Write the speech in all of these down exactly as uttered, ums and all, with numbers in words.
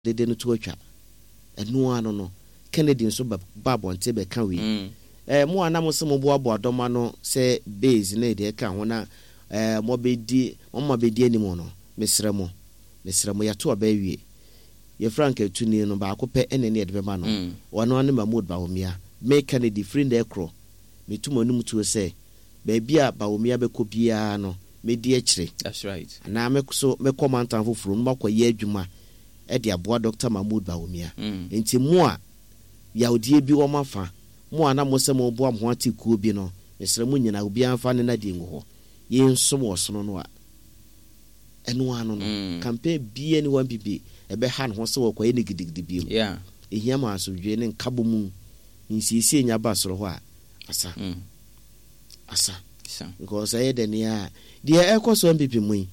Dede no to atwa. Ɛno ara no no, Kennedy nso ba ba abɔnten bɛka wei. Mm. Ɛɛ mo a na mo se moboaboa dɔm ano sɛ base ne deɛ ɛka ho na ɛɛ mobɛdi mo ma bɛdi anim no, mesrɛ mo, mesrɛ mo, yɛato aba awie. Yɛ frankaatuni no baako pɛ ɛna ɛne yɛde bɛma no. Mm. Ɔno ara ne Mahmood Bawumia. Me Kennedy, firi nnɛ rekorɔ, metu m'anom tuo sɛ baabi a Bawumia bɛkɔ biara no, mɛdi akyire. That's right. Anaa me so mɛkɔ mantam foforɔ mu makɔyɛ adwuma de aboa Dɔkta Mahmood Bawumia. Mm. Nti mo a yawdie bi wɔ mo afa, mo a na mo sɛ moboa mo ho ate kuo bi no, mesrɛ mo nyinaa, obiara mfa ne nnadeɛ ngu hɔ. Yɛnsom ɔsono no a, ɛno ara no no, Mm. campaign biara nni hɔ N P P ɛbɛha ne ho sɛ wɔkɔyɛ no gidigidi bio. Yeah. Ɛhia ma asomdwoeɛ ne nkabom nsiesie nya ba soro hɔ a, asa. Mm. Asa. Sa. Because ɛyɛ dɛ nea deɛ ɛkɔ so N P P mu yi,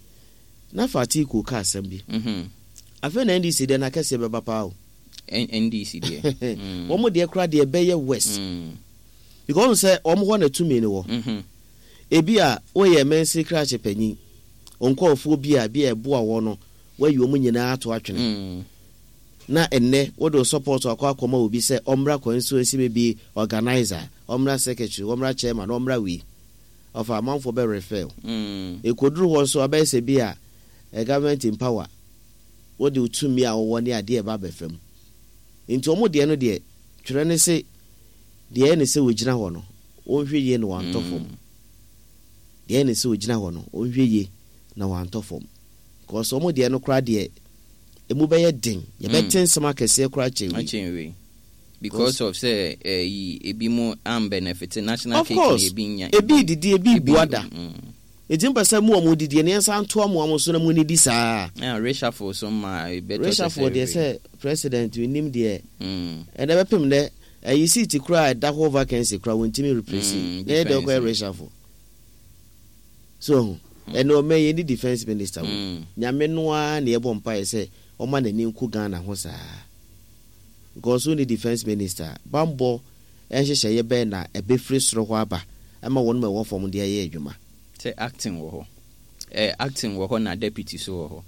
na fa Atiku ka asɛm bi. Mm-hmm. Afei na N D C deɛ n'akɛseɛ bɛba paa o. N- NDC deɛ. Mm. Wɔn deɛ koraa deɛ ɛbɛyɛ worse. Mm. Because sɛ wɔn hɔ na tumi no wɔ. Mm-hmm. Ebi a woyɛ mɛnsi krakye panyin, nkɔɔfoɔ bi a bi a ɛboa wɔ no, wayi wɔn nyinaa ato atwene. Mm. Na ɛnnɛ wode wo support akɔ akɔma obi sɛ ɔmmra constituency, maybe organizer, ɔmmra secretary, ɔmmra chairman, ɔmmra wei. Ɔfa amanfoɔ bɛ refer wo. Mm. Ekoduru hɔ nso abɛyɛ sɛ bi a eh, government in power, wode wo tumi a wɔwɔ ne adeɛ ɛba abɛfa mu. Nti wɔn deɛ no deɛ, twerɛ ne se deɛ ɛyɛ ne sɛ wɔgyina hɔ no, wɔnhwɛ yie na wɔantɔ fam. Deɛ ɛyɛ ne sɛ wɔgyina hɔ no, wɔnhwɛ yie na wɔantɔ fam. Because wɔn deɛ no koraa deɛ, emu bɛyɛ den. Yɛbɛte nsɛm akɛseɛ koraa kyɛn wei. Akyɛn wei. Because of sɛ ɛyi ebi mu am benefit national Of cake course, na ebi nya. Ebi didi, ebi bu ada. Mm. Nti mpɛ sɛ mo a mo didi no, yɛnsa ntoa mo a mo so na mo nidi saa. Na reshuffle so ma ebɛtɔ sɛ Reshuffle deɛ, sɛ president nim deɛ, Mm. ɛnɛ bɛpem dɛ ɛyi seat koraa a ɛda hɔ vacancy koraa wɔntumi replace. Mm, na yɛ deɛ defense. ɔkɔyɛ reshuffle. So ɛho ɛnɛ ɔmɛ yɛ ni defence minister wo. Mm. Nyame no ara na yɛbɔ mpaeɛ sɛ ɔma n'ani nku Ghana ho saa. Because wo ni defence minister, bambɔ nhyehyɛeɛ bɛn na ɛbɛfiri soro hɔ aba ɛma wɔn ma ɛwɔ fam de ayɛ adwuma? Sɛ acting wɔ hɔ. Eh, acting wɔ hɔ na deputy so wɔ hɔ.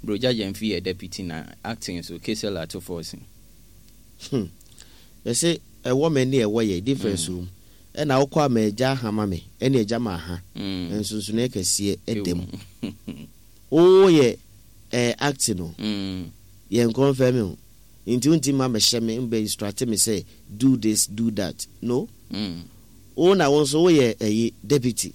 Brogya Genfi yɛ deputy na acting so Cassiel Ato Forson. Hmm. Yɛsɛ ɛwɔ me ne ɛwɔ yɛ difference wɔ mu. Ɛna wokɔ ama agya ahama me ɛne agya ma aha. Mm. Nsonsonoeɛ kɛseɛ ɛda mu. Woyɛ ɛɛ acting no, Mm. yɛn confirm o. Nti wonti ma mɛhyɛ me mbɛ instruct me sɛ do this, do that. No. Mm. Wo na wo nso woyɛ ɛyi deputy.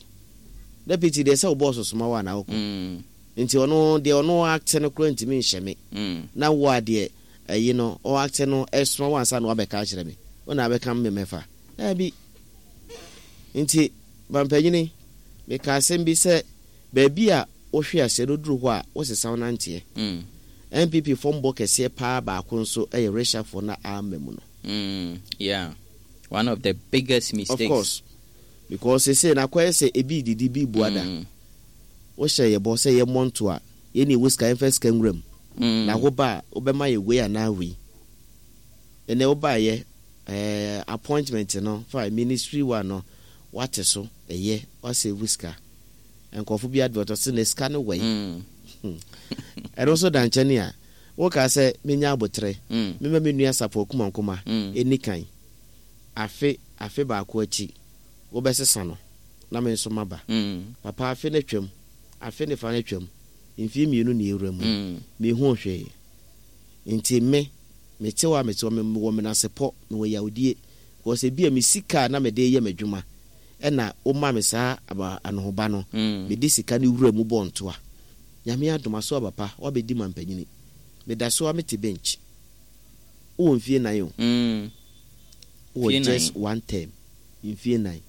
Deputy deɛ, sɛ wo boss soma wo a na wokɔ. Mm. Nti ɔno deɛ, ɔno act no koraa ntumi nhyɛ me. Mm. Na wo a deɛ ɛyi no ɔ act no ɛsoma wo ansa na wabɛka akyerɛ me. Wo na abɛka me mɛfa. Daabi. Nti mampanyini, meka asɛm bi sɛ baabi a wohwe aseɛ no duru hɔ a wosesa wo nanteɛ. Mm. N P P fɔmbɔ kɛseɛ paa baako nso ɛyɛ reshuffle na ama mu no. Mm. Yeah. One of the biggest mistakes. Of course. Because sese na akɔyɛ sɛ ebi didi bi bu ada. Mm. Wohyɛ yɛ bɔ sɛ yɛmmɔ nto a, yɛne ɛwɔ sika, yɛmfa sika nwura mu. Mm. Na wo ba a wobɛma yɛ wei anaa wei. Ɛnɛ wobaayɛ ɛɛ appointment no fa ministry wa no wate so, ɛyɛ wasave sika. Nkɔfo bi advert ɔsɛ na sika no wɔ yi. Mm. Ɛno nso da nkyɛn a woka sɛ menya abotrɛ. Mm. Mema me nua Sapɔ Kumankoma Mm. ɛni kan. Afe afe baako akyi wobɛsesa no na me nso maba. Mm. Papa, afe no atwam, afe ne fa no atwam, mfie mmienu na ewura mu. Mm. Mehu hwee. Nti me mete hɔ a mete hɔ, mewɔ menasepɔ, mewɔ yawdie. Because ebi a me sika a na mede yɛ m'adwuma ɛna woma me saa aba anohoba no. Mm. Mede sika no wura mu bɔ ntoa. Nyame adom aso aba pa, wabɛdi ma mpanyini. Meda so a mete bench. Wowɔ mfie nan o. Mm. Wowɔ Mfie just nan. one term. Mfie nan.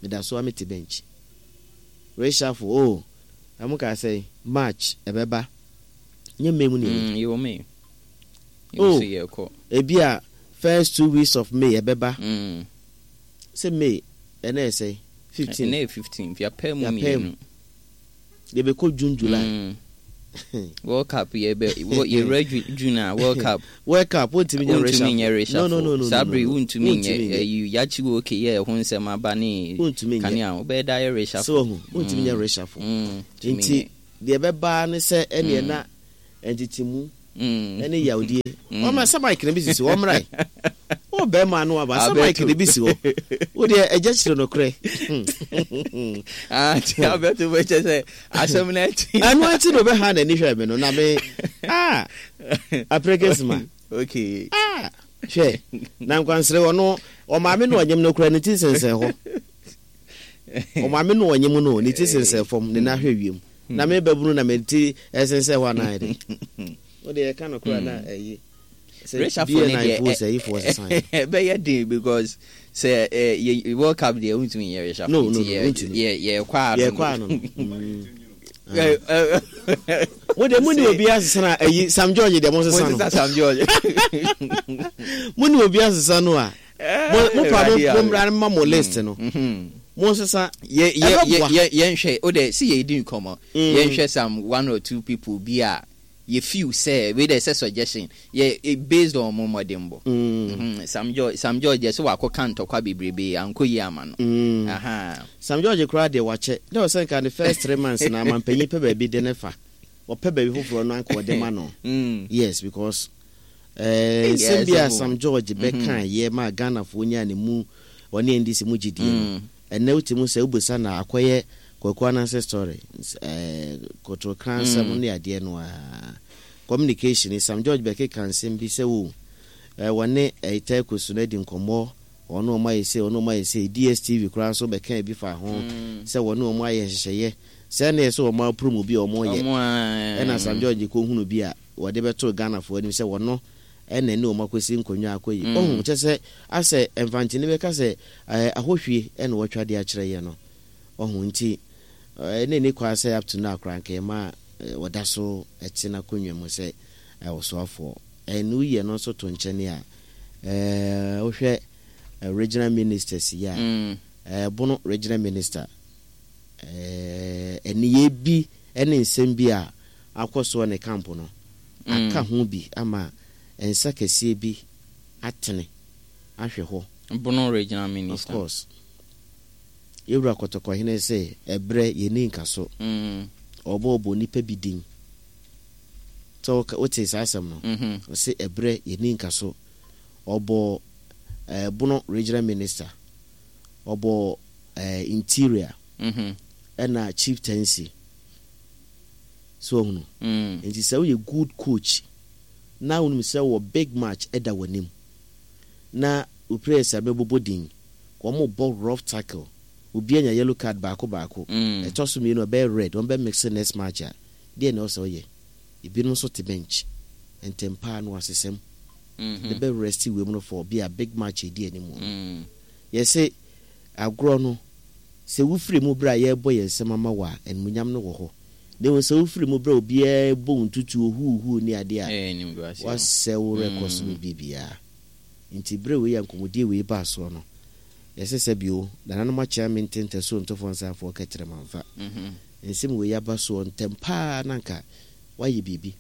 Meda so a mete bench. Reshuffle o. Ɛmo ka sɛ March ɛbɛba. Nyɛ May mu na ɛwɔ. Mm. Yɛwɔ May. Oh. Yɛwɔ sɛ yɛkɔ. Ebi a first two weeks of May ɛbɛba. Mm. Sɛ May ɛnɛ yɛ sɛ fifteen. Ɛnɛ yɛ fifteen. Yɛapɛ mu Yɛapɛ mu. mmienu. Yɛbɛkɔ June, July. Mm. World Cup yɛbɛ yɛwura Ju- June a World Cup. World Cup wontumi nyɛ Wontumi reshuffle. nyɛ reshuffle. No no no no. Saa no, bere no. wontumi Wontumi nyɛ nyɛ. ɛyi yakyi wo okay yɛ ɛho nsɛm aba ne Wontumi nyɛ. kanea wobɛyɛ da yɛ reshuffle. Sɛ wahu, wontumi nyɛ reshuffle. Mm. Tumi Nti nyɛ. deɛ ɛbɛba ne sɛ ɛneɛ Mm. na ntetemu Mm. Ɛne yawdie. Ɔma sɛ mic no bi sisi hɔ, ɔmmra. Wo bɛrima no aba sɛ mic no bi si hɔ. Wo deɛ, ɛgya kyerɛ nokorɛ. Ah, nti Alberto bɛkyɛ sɛ asɛm no akyi. Ɛno akyi na ɔbɛha n'ani hwɛ me no na me, ah, aprɛkɛsima. Okay. Ah, hwɛ, na nkwansere ɔno ɔmaame no ɔnyem no kora ne ti sensɛn hɔ. Ɔmaame no ɔnyem no, ne ti sensɛn fam, ne nan hwɛ wiem. Na me babunu na me ti ɛsensɛn hɔ anaa de. Wo deɛ, ɛka no kora na ɛyi. Reshuffle ne deɛ, ɛbɛyɛ den because sɛ yɛ World Cup deɛ, wontumi nyɛ reshuffle. No, no, no, nti yɛ wontumi. yɛ yɛkɔ ano. Yɛkɔ ano no. Mo de, mo ni obi asesa na ɛyi Sam George deɛ, mo sesa no. Mo sesa Sam George. Mo ni obi asesa no a, mo mo pa mo mo mmra ma mo list no. Mo nsesa. Yɛ yɛ Ɛbɛboa. yɛ yɛnhwɛ o de si yɛ di nkɔmɔ, yɛnhwɛ some one or two people bi a yɛ feel sɛ wei de sɛ suggestion yɛ eh, based on mo mmɔdenbɔ. Mhm. Sam George Sam George yɛ sɛ wakɔ ka ntɔkwa bebrebe, ankɔ yie ama no. Mm. Aha. Sam George koraa deɛ, wakyɛ dɛ ɔsɛ nka ne first three months na amampanyin pɛ baabi de ne fa, ɔpɛ baabi foforɔ no anka ɔde ma no. Mm. Yes, because ɛɛ nsɛm bi a Sam George bɛka yɛ ma Ghanafoɔ nyaa ne mu ɔne N D C mu gyidie no, ɛnɛ wote mu sɛ wobisa na akɔyɛ Kwaku Ananse story, ɛɛ kotokra nsɛm ne adeɛ no a communication. Sam George bɛkeka nsɛm bi sɛ wo ɛɛ wɔne ɛɛ Tɛko so no adi nkɔmmɔ, ɔno ɔmo ayɛ sɛ ɔno ɔmo ayɛ sɛ D S T V koraa nso bɛka bi fa ho sɛ wɔne ɔmo ayɛ nhyehyɛeɛ sɛ ne yɛ sɛ ɔmo approve bi a ɔmo yɛ. Ɔmo a Ɛna Sam George kɔhunu bi a wɔde bɛtoo Ghanafoɔ anim sɛ wɔno ɛna ne ɔmo akɔsi nkonnwa akɔ yi, ɔhu kyɛ sɛ asɛ mfantini bɛka sɛ ɛɛ ahohwie ɛna wɔatwa de akyerɛ yɛ no, ɔhu. Nti ɛɛ ne ne kwan sɛ up to now koraa nka ɛma wɔda so ɛte n'akonnwa mu sɛ ɔsoafoɔ. Ɛna woyɛ no nso to nkyɛn a, ɛɛ wohwɛ regional ministers yi a, ɛɛ Bono Regional Minister, ɛɛ ɛniyɛ bi ɛne nsɛm bi a akɔ soɔ ne camp no aka ho bi ama nsa kɛseɛ bi atene ahwɛ hɔ. Bono Regional Of Minister. course, yɛwura Kɔtɔkɔhene sɛ ɛberɛ yɛni nka so Mm. ɔbɔɔbɔ nipa bi din sɛ woka- wote saa asɛm no. Mhm. Ɔsɛ ɛberɛ yɛni nka so, ɔbɔ ɛɛ Bono Regional Minister, ɔbɔ ɛɛ Interior Mhm. ɛna chieftaincy so ɔhunu. Mm. Nti sɛ woyɛ good coach na wonim sɛ wɔ big match ɛda w'anim na wo players a bɛbobɔ din, wɔn bɔ rough tackle, obi anya yellow card baako baako, Mm. ɛtɔ so mmienu ɛbɛyɛ red, wɔn bɛ mix next match a, deɛ na ɔsɛ ɔyɛ, ebinom nso te bench ntɛmpaa no asesɛm Mhm. de bɛ rest wei mu no for bi a big match edi anim no. Mm. Yɛsɛ agorɔ no sɛ wofiri mu berɛ a yɛrebɔ yɛn nsɛm ama wɔ a, animuonyam no wɔ hɔ, na mmom sɛ wofiri mu berɛ a obiara bɔ wo ntutuo huuhuu ne adeɛ a, Ɛyɛ animguaseɛ. Wasɛ wo records no biribiara. Nti berɛ wei a nkɔmmɔdie wei baa soɔ no, yɛsɛ sɛ bio nananom akyea me ntentɛso ntɔfoɔ nsanfoɔ kɛtrɛ mamfa Mhm. nsɛm wei aba soɔ ntɛm paa na nka wayɛ biribi.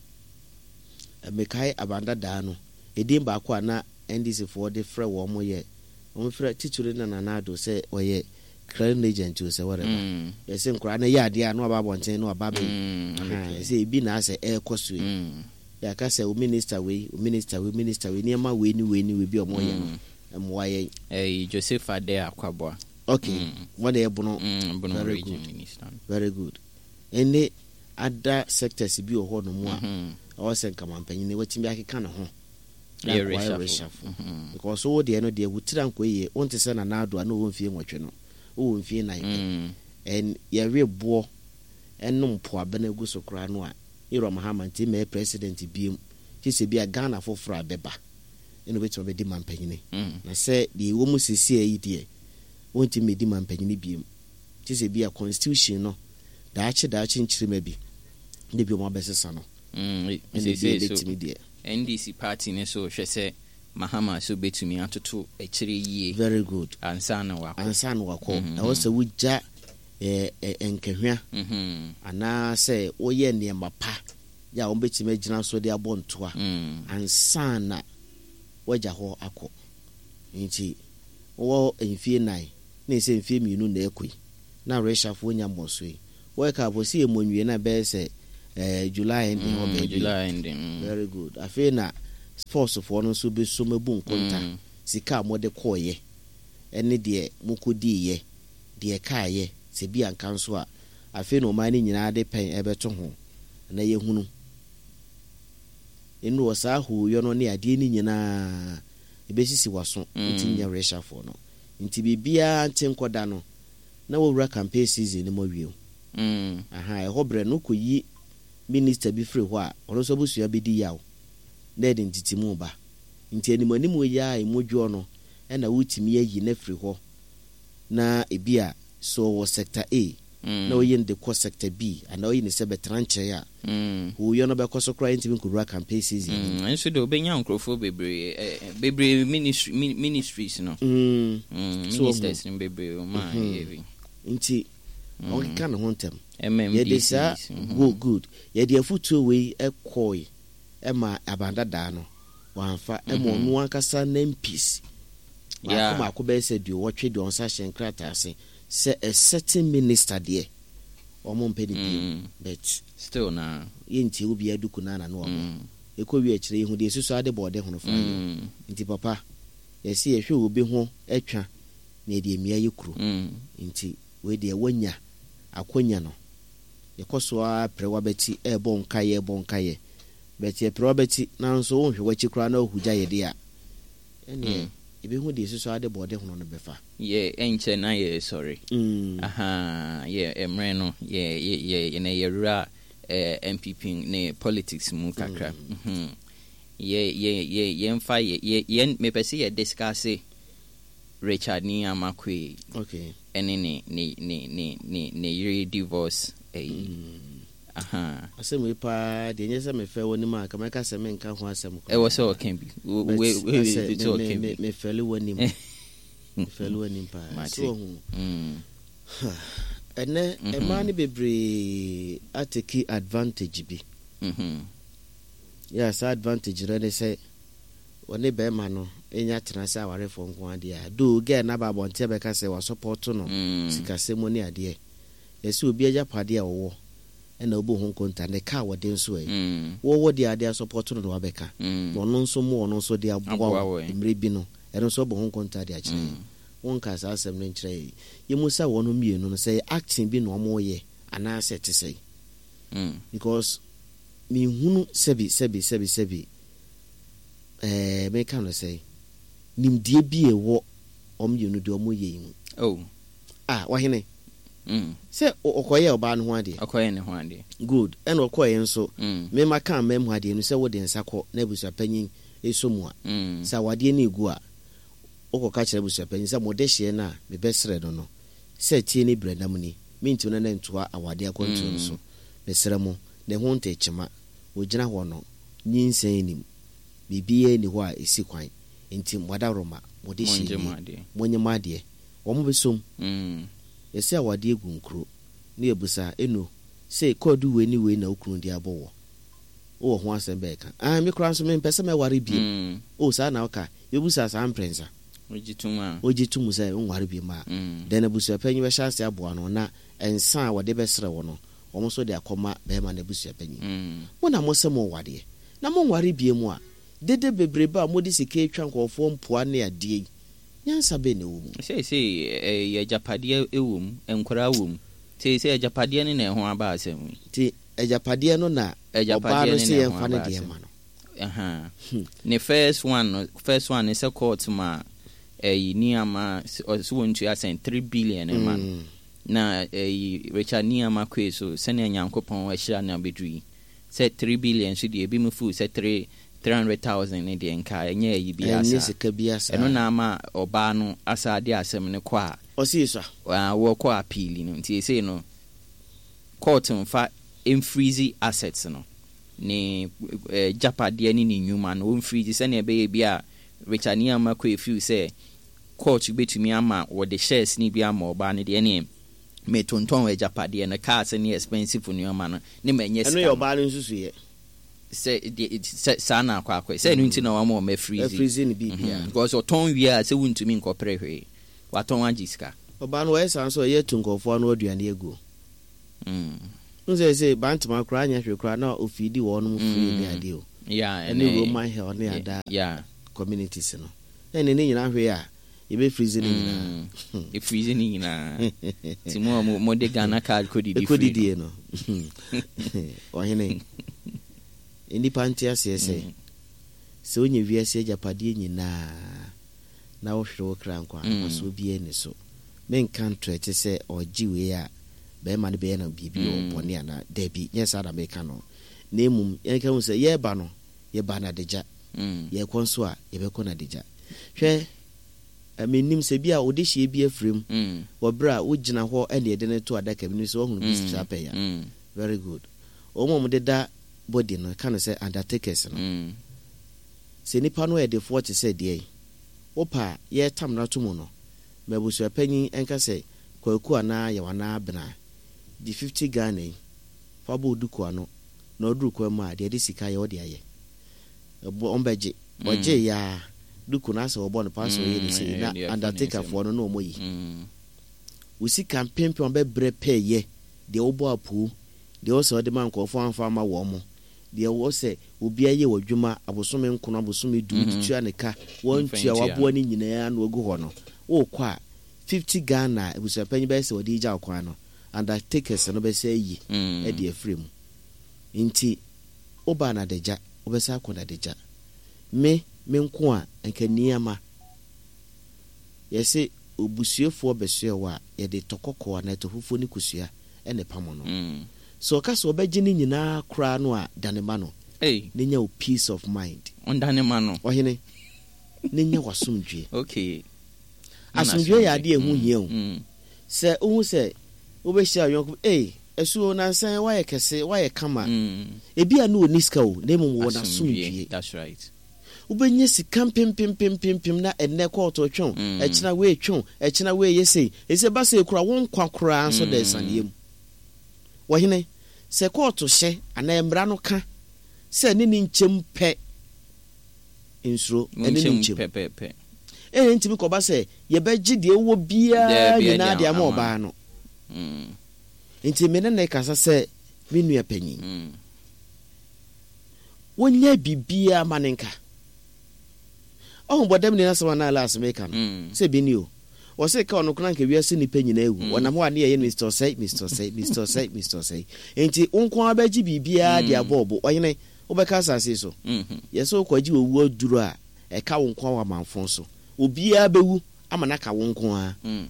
Mekae abandadaa no, ɛdin baako a na N D C foɔ de frɛ wɔn mo yɛ wɔn frɛ titiri na Nana Addo sɛ ɔyɛ clearing agent o, sɛ whatever. Mm. Yɛsɛ nkoraa no yɛ adeɛ a na waba abɔnten na waba bɛyi. Mm. Aha, yɛsɛ ebi na asɛ ɛrekɔ so yi. Mm. Yɛaka sɛ o minister wei, o minister wei, minister wei, nneɛma wei ne wei ne wei bi a ɔmo yɛ no mmoa yɛn. Ɛyi Joseph Ade Akwaboa. Okay. Mm. Wɔn de ɛbono. Mm. Bono Very Region good. Minister. Very good. Ɛne other sectors bi wɔ hɔ nom a Mhm. ɛwɔ sɛ nkamanpanyin watumi akeka ne ho na Yɛ nkoa yɛ reshuffle. reshuffle. Mhm. Because wo deɛ no deɛ, wo tiri ankɔ yie, wonte sɛ Nana Addo a na ɔwɔ mfie nwɔtwe no, wowɔ mfie nan pɛ. Mm. And yɛwe boɔ ɛnom poabena gu so koraa no a, Ewura Mahama nti mɛyɛ president biem kye sɛ bi a Ghana foforɔ a bɛba ɛna obɛtumi abɛdi mampanyini. Mm. Na sɛ deɛ ɛwɔ mu seesei yi deɛ, wɔntumi mmɛdi mampanyini biem kye sɛ bi a constitution no daakye daakye nkyirima bi ne bi ɔmo abɛsesa no. Mm. Ɛna bi Seesei so ɛbɛtumi deɛ. N D C party ne so hwɛ sɛ Mahama so bɛtumi atoto akyire yie Very good. ansa na wakɔ. Ansa na wakɔ. Mhm. Ɛwɔ sɛ wogya ɛɛ ɛ nkahwia Mhm. anaasɛ woyɛ nneɛma pa yɛ a wɔbɛtumi agyina so de abɔ ntoa Mm. ansa na wagya hɔ akɔ. Nti wɔ mfie nan ne sɛ mfie mmienu na ɛkɔ yi na reshuffle nya mmɔ so yi, wɔyɛ ka afɔ si yɛ mmɔ nwie na bɛyɛ sɛ Eh, July ending hɔ Mm, baabi. July ending. Mm. Very good. Afei na sportsfoɔ no nso bɛsom abu nkonta. Mm. Sika a mode kɔɔyɛ ɛne deɛ mokɔdiiɛ, deɛ kaayɛ, sɛ bi anka nso a, afei na ɔman no nyinaa de pɛn ɛbɛto ho na yɛhunu. Ɛnu wɔ saa hooyɔ no ne adeɛ no nyinaa ɛbɛsisi w'aso. Mm. Nti nyɛ reshuffle no. Nti biribiara nte nkɔda no na wɔwura campaign season no mu awie. Mm. Aha, ɛhɔ berɛ no kɔyi minister bi firi hɔ a, ɔno nso abusua bɛdi yaw na ɛde ntetimu ba. Nti anim anim yi a ɛmu dwoɔ no, ɛna wotumi ayi no afiri hɔ, na ebi a sɛ ɔwɔ sector A Mm. na oyi no de kɔ sector B anaa oyi no sɛ bɛtena nkyɛn a, Mm. hooyɔ no bɛkɔ so koraa, yɛntumi nkɔwura campaign season no mu. Mm. Nso de obɛnya nkurɔfoɔ bebree, eh, eh, bebree ministry, mi- ministries no. Mm. Mm. So Ministers no bebree ɔma a ɛyɛ bi. Nti ɔnkeka ne ho ntɛm. M M D Cs. Yɛde saa Mhm. Good, good. Yɛde afotuo wei ɛkɔe ɛma abandadaa no wɔamfa, ɛma ɔno ankasa ne M Ps baako Yeah. baako bɛyɛ sɛ duowɔtwe deɛ ɔnsa hyɛ nkrataa ase sɛ a certain minister deɛ, ɔmo mpɛ ne bio. Mm. But Still na. yɛntie wo biara duku no ana no wabɔ. Mm. Ɛkɔ wie akyerɛ, yɛhu deɛ ɛsusu ade bɔ ɔde hono fa yɛ. Mm. Nti papa, yɛsɛ yɛhwɛ obi ho atwa na yɛde amia yɛ kuro. Mm. Nti wei deɛ, woanya akwanya no, yɛkɔ so ara prɛ wabɛti, ɛɛbɔ nkayɛ, ɛbɔ nkayɛ, but yɛprɛ wabɛti nanso wonhwɛ w'akyi koraa na wohu gya yɛde a, ɛneɛ Mm. yɛbɛhu deɛ ɛsusu ade bɔ ɔde hono no bɛfa. Yɛ ɛnkyɛ na yɛ sɔre. Mm. Aha, yɛ mmerɛ no yɛ yɛ yɛ yɛ na yɛwura eh, N P P ne politics mu kakra. Mhm. Yɛ yɛ yɛ yɛmfa yɛ yɛ yɛn mepɛ sɛ yɛ discuss Richard Nii Armah Quaye okay ɛne ne ne ne ne ne ne yere divorce ɛyi. Aha. Asɛm yi paa deɛ, nyɛ sɛ mefɛ w'anim a, ka mɛka sɛ menka ho asɛm koraa. Ɛwɔ sɛ ɔka bi. Wo- But we- we- asɛ we- sɛ me- ɔka me- bi. mefɛle w'anim, mefɛle w'anim paa. Mate. So ɔhu Mm. ɛnɛ Mhm. mmaa no bebree atake advantage bi. Mhm. Yɛ saa advantage no ne sɛ wɔne bɛrima no ɛnya tena sɛ awarefoɔ nko adeɛ a do girl no aba abɔnten bɛka sɛ wasɔpɔto no Mm. sikasɛm ne adeɛ. Yɛsɛ obi agyapadeɛ a wɔwɔ ɛna wobu ho nkonta ne ka a wɔde nso ɛ Mm. wɔwɔ deɛ adeɛ asɔpɔto no na wabɛka Mm. na ɔno nso mo ɔno nso de aboa Aboa wo wo, ɛ. mmerɛ bi no, ɛno nso ɔbɔ ho nkonta de akyerɛ yɛn. Mm. Wonka saa asɛm no nkyerɛ yɛn. Yɛmu sa wɔn mmienu no sɛ acting bi na ɔmoyɛ anaasɛ ɛte sɛ Mm. because menhunu sɛbi sɛbi sɛbi sɛbi, ɛɛ meka no sɛ nimdeɛ bi a ɛwɔ ɔmo mmienu deɛ ɔmo yɛ yi mu. Oh. A wahene Mm. sɛ ɔ- ɔkɔyɛ ɔbaa no ho adeɛ. Ɔkɔyɛ ne ho adeɛ. Good, ɛna ɔkɔyɛ nso Mm. mema ka mma mu adeɛ no sɛ wode nsa kɔ na abusuapanyin ɛsɔ mu a, Mm. sɛ awadeɛ no ɛgu a, wokɔka kyerɛ abusuapanyin sɛ mode hyeɛ no a mebɛsrɛ no no sɛ tie ne brɛnam ni, mentimi no ne ntoa awadeɛ akwantuo no so. Mesrɛ mo, ne ho nte kyema wɔgyina hɔ no, nyinsɛn nim biribiara ni hɔ a ɛsi kwan, nti mmɔdaworoma mode Mongye hyeɛ mo nie. adeɛ. Monyɛ mo adeɛ, wɔn bɛsom. Mm. Yɛsɛ awadeɛ gu nkuro ne yɛbusa ɛnu sɛ kɔɔdu wei ne wei na wo kunu de abɔ wɔ wowɔ ho asɛm bɛɛka ah, me koraa nso mempɛ sɛ mɛware biem. Mm. O saa na woka, yɛbusa saa mprɛnsa. Wogye tom a. Wogye tom sɛ wonware biem a, Mm. then abusuapanyin bɛhyɛ ase aboa no na nsa a wɔde bɛsrɛ wɔ no, wɔn nso de akɔma bɛrima no abusuapanyin. Mm. Mo na mo sɛ mo wadeɛ na monware biem a, dede bebrebe a mode sika atwa nkɔɔfoɔ mpoa ne adeɛ yi, nyansa bɛn na ɛwɔ mu? Seesei ɛyɛ agyapadeɛ wɔ mu, nkwaraa wɔ mu. Seesei agyapadeɛ no na ɛho aba asɛm yi. Nti agyapadeɛ no na ɔbaa Agyapadeɛ no no sɛ na ɛho yɛmfa ne aba deɛ asɛm. ma no. Aha. Hmm. Ne first one no, first one ne sɛ court ma ɛyi nneɛma ɔsɛ wɔntua sɛn three billion ma no. Mm. Na ɛyi Richard Nii Armah Quaye so sɛnea Nyankopɔn ahyira no abɛduru yi, sɛ three billion so deɛ, ebi mu feel sɛ three three hundred thousand ne deɛ nka ɛnyɛ ɛyi bi Ɛnyɛ asa. Sika bi asa. Ɛno na ama ɔbaa no asa de asɛm no kɔ a Ɔsi so a wɔkɔ appeal no. Nti esei no court mfa mfreeze assets no, ne eh, gyapadeɛ ne ne nnwuma no wɔmfreeze, sɛnea ɛbɛyɛ bi a Richard Nii Armah Quaye feel sɛ court bɛtumi ama wɔde shares ne bi ama ɔbaa no deɛ, ne metontɔn agyapadeɛ no, cars ne expensive nneɛma no ne ma ɛnyɛ Ɛno sika yɛ no. Ɔbaa no nsusu yɛ. Sɛ deɛ sɛ saa na akɔ akɔ sɛ ɛno nti na wɔama wɔn afreeze. Afreeze ne biribia. Mhm. Because ɔtɔn wie a, sɛ wontumi nkɔpere hwee, watɔn agye sika. Ɔbaa no wɔyɛ saa nso, ɔyɛ tu nkɔɔfoɔ ano aduane agu. Mm. N sɛ sɛ Bantama koraa nyɛ hwee koraa na ofidi wɔn free ne adeɛ o. Yeah, ɛne Roman Hill ne ada yeah. communities no. Ɛne ne nyinaa hwee a yɛbɛ freeze ne nyinaa. Mm. Freeze ne nyinaa. Nti mo a mo de Ghana card kɔdidi free. Ɛkɔdidie no. Ɔhene, nnipa nte aseɛ sɛ Mm. sɛ wonya wiase agyapadeɛ nyinaa na wohwere wo kra nkwa Mm. mfasoɔ biara ni so. Menka ntorɛte sɛ ɔgye wei a bɛrima no bɛyɛ no biribi wɔ Mm. bɔne anaa dabi, nyɛ saa na meka no. Na mmom yɛnka hu sɛ yɛreba no, yɛba no adagya. Mm. Yɛkɔ nso a yɛbɛkɔ no adagya. Hwɛ, mennim sɛ bi a wode hyie bi afiri mu Mm. wɔ berɛ a wogyina hɔ ɛne yɛde no to adaka bi no sɛ woahunu bi Mm. saa pɛn a. Mm. Very good. Wɔn a wɔdeda body no ka no sɛ undertakers no. Mm. Sɛ nipa no yɛ defoɔ te sɛ deɛ yi, wopa a yɛretam no ato mu no, ma abusuapanyin nka sɛ Kwaku anaa Yaw anaa Abena gye fifty Ghana yi fa bɔ wo duku ano na ɔduru kwan mu a deɛ ɛde sika yɛ wode ayɛ. Ɛbɔ ɔmbɛgye. Ɔgye ya duku no asɛ wɔbɔ no pa sɛ ɔyɛ ne sei na Mm, ɛyɛ undertakerfoɔ no na ɔmɔ yi. Mm. Wo sika mpempem a bɛbrɛ pɛɛyɛ deɛ wobɔ apoo deɛ wɔ sɛ ɔde ma nkurɔfoɔ amfa ama wɔn mo deɛ wɔ sɛ obi ayɛ wɔ adwuma abosome nkono, abosome du Mhm. tua ne ka wɔntua Mfa ntua. waboa ne nyinaa na wagu hɔ no, wokɔ a fifty Ghana abusuapanyin bɛyɛ sɛ wɔde gya wo kwan no, undertakers no bɛsɛ ayi Mm. ɛde afiri mu. Nti wobaa n'adagya, wobɛsɛ akɔ n'adagya. Me me nko a nka nneɛma yɛsɛ obusuafoɔ bɛsoɛ wɔ a yɛde tɔ kɔkɔɔ anaa tɔ fufuo ne kosua ɛna pam no. Mm. Sɛ ɔka sɛ ɔbɛgye ne nyinaa koraa no a, dane ma no. Hey. Ne nya wo peace of mind. Ɔndane ma no. Ɔhene, ne nya w'asomdwie. Okay. Asomdwie yɛ adeɛ a ɛho hia o. Mm. Sɛ wohu sɛ wobɛhyia ɔyɔnko, ei, asuo nansan woayɛ kɛse, woayɛ kama. Mm. Ebi a ne ɔnni sika o, na mmom wɔ Asomdwie. n'asomdwie. That's right. Wobɛnya sika mpempempempempem na ɛnnɛ kɔɔto twɛn, Mm. ɛkyena wei twɛn, ɛkyena wei yɛ sei. Ɛsɛ ba sei koraa, wo nkwa koraa nso da Mm. asianeɛ mu. Wɔhene, sɛ kɔɔto hyɛ anaa mmara no ka sɛ ne ne nkyɛm pɛ, nsuro, ɛne ne Nkyɛm nkyɛm. pɛpɛpɛ. Ɛyɛ ntumi kɔba sɛ yɛbɛgye deɛ wɔ biara Daabi, nyinaa ɛde de ama ama. ɔbaa no. Mm. Nti me ne ne kasa sɛ me nua panyin. Mm. Wonyɛ biribiara ma ne nka. Ɔho bɔdam ni n'asɛm anaa last meka no. Mm. Sɛ bi ni o. Wɔse ka ɔno koraa nka wiase nnipa nyinaa awu. Mm. Wɔnam hɔ a ne yɛyɛ no Mister Osei, Mister Osei, Mister Osei, Mister Osei. Nti wo nko ara bɛgye biribiara de Mm. abɔ ɔbo. Ɔhene, wobɛka asase yi so. Mm-hmm. Yɛsɛ wokɔgye owu aduro a ɛka wo nko ara wɔ amanfo so. Obiara bɛwu ama no aka wo nko ara. Mm.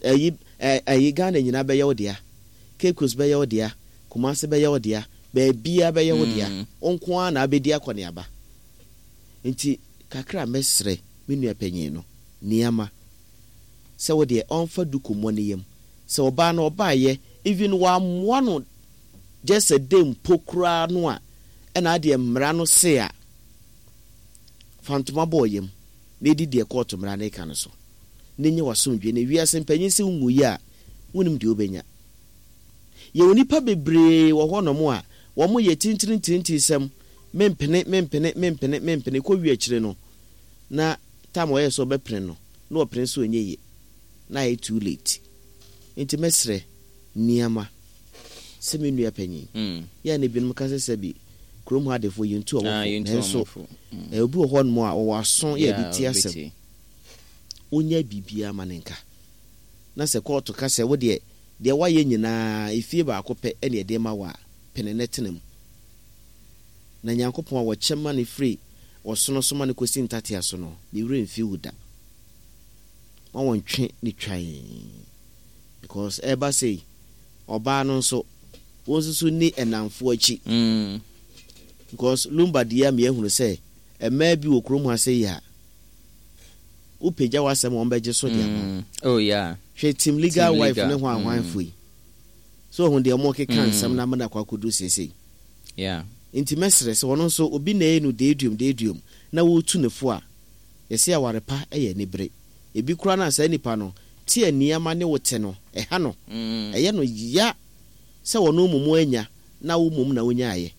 Ɛyi, ɛ, ɛyi Ghana nyinaa bɛyɛ wo dea. Cape Coast bɛyɛ wo dea. Kumasi bɛyɛ wo dea. Baabiara bɛyɛ wo dea. Mm. Wo nko ara na abɛdi akɔneaba. Nti kakra mɛsrɛ me nua panyin no nneɛma sɛ wo deɛ ɔmfa duku mmɔ ne yam. Sɛ ɔbaa no ɔbaayɛ even wammoa no just a day mpo koraa no a ɛna adeɛ mmara no se a fa ntoma bɔ yam na edi deɛ kɔɔto mmara no ka no so na nye w'asomdwe. Na wiase mpanyin sɛ wonwu yi a wonim deɛ wobɛnya. Yɛwɔ nnipa bebree wɔ hɔnom a wɔn yɛ tintirintintin sɛm mempene mempene mempene mempene kɔ wie akyire no na tam ɔyɛ sɛ ɔbɛpene no na ɔpene so ɔnyɛ yie na ayɛ too late. Nti mɛsrɛ nneɛma sɛ me nua panyin Mm. yɛ ne binom ka sɛ sɛ bi kurom ha adefoɔ yɛntu Ah, ɔmo fo yɛntu nanso ɔmo fo. Mm. eh, obi wɔ hɔnom a ɔwɔ aso yɛ de Yeah, ti asɛm. ɔbɛtie. Wonyɛ biribiara ma ne nka na sɛ kɔɔto ka sɛ wo deɛ deɛ woayɛ nyinaa efie baako pɛ ɛne ɛde ma wo a pene ne tena mu na Nyankopɔn a wɔkyɛ ma ne firi ɔsono so ma ne kɔsi ntatea so no ne werɛ mfi wo da. Ma wɔntwe ne twan because ɛba sei ɔbaa no nso wɔn nso so ni ɛnamfoɔ akyi. Mm. Because Lumba deɛ a meyɛhunu sɛ mmaa bi wɔ kurom ha sɛ yi a wopagya w'asɛm a wɔn bɛgye so de ama wo. Mm. Oh yeah. Hwɛ team legal Team wife legal. ne ho ahwanfo Mm. yi so ohun deɛ ɔmo keka Mm. nsɛm na amena akɔ akɔdu seesei. Yeah. Nti mɛsrɛ sɛ ɔno nso obi na ɛyɛ no deeduom deeduom na wɔretu ne fo a yɛsɛ aware pa yɛ anibere. Ebi koraa na saa nipa no te nneɛma ne wo te no ɛha no. Mm. Ɛyɛ no ya sɛ ɔno mmom anya na wo mmom na wonyaayɛ.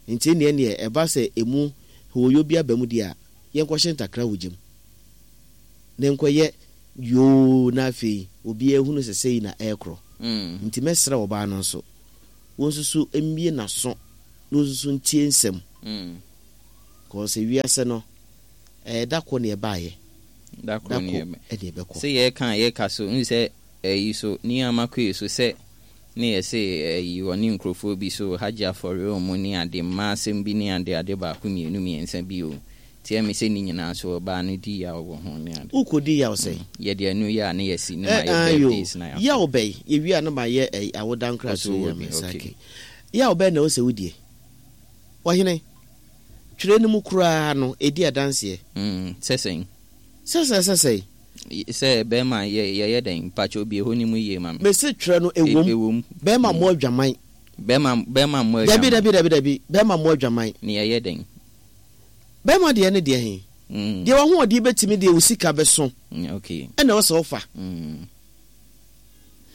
Nti neɛ neɛ ɛba sɛ emu hooyo bi aba mu deɛ a yɛnkɔhyɛ ntakra wɔ gyam na nkɔyɛ yoo na afei obiara hunu sɛ sɛyi na ɛrekorɔ. Mm. Nti mɛsrɛ ɔbaa no nso Wɔn nso so mmie n'aso na wɔn nso so ntie nsɛm. Mm. Kɔɔ sɛ wiase no, ɛyɛ da kɔ ne ɛbaayɛ. Da Da koro ne kɔ ɛbɛ. ɛne ɛbɛkɔ. Sɛ yɛka a yɛka so n sɛ ɛyi so nneɛma koe so sɛ ne yɛ sɛ ɛyi ɔne nkurɔfoɔ bi so hagye afɔre ɔmo ne ade mmaa asɛm bi ne ade ade baako mmienu mmiɛnsa bi o tiɛ mi sɛ ne nyinaa so ɔbaa no di yaw wɔ ho ne ade. Wokɔdi yaw sɛ? Yɛde ɛnu yɛ a ne yɛsi ne ma Ɛ yɛ ayo. birthdays na yɛakɔ. Yaw bɛyi yɛwie a no ma yɛ ɛyi awoda Ɔso nkrato wɔ yɛ bi, me nsa okay. ke. Yaw bɛyi na ɛwɔ sɛ wodie. Ɔhene, twerɛ no mu koraa no ɛdi adanseɛ. Mm, sɛ sɛn? Sɛ sɛ sɛ sɛ. Sɛ bɛrima yɛ yɛyɛ dɛn mpakyɛ obi ɛhɔ ne mu yie ma me. Mese twerɛ no ɛwom. Ɛwom. Bɛrima mmɔ adwaman. Bɛrima bɛrima mmɔ Dabi adwaman. dabi dabi dabi bɛrima mmɔ adwaman. Ne yɛyɛ dɛn? Bɛrima deɛ ne deɛ he. Mm. Deɛ wahoɔden bɛtumi deɛ wo sika bɛso. Mm, okay. Ɛna ɛwɔ sɛ wofa. Mm.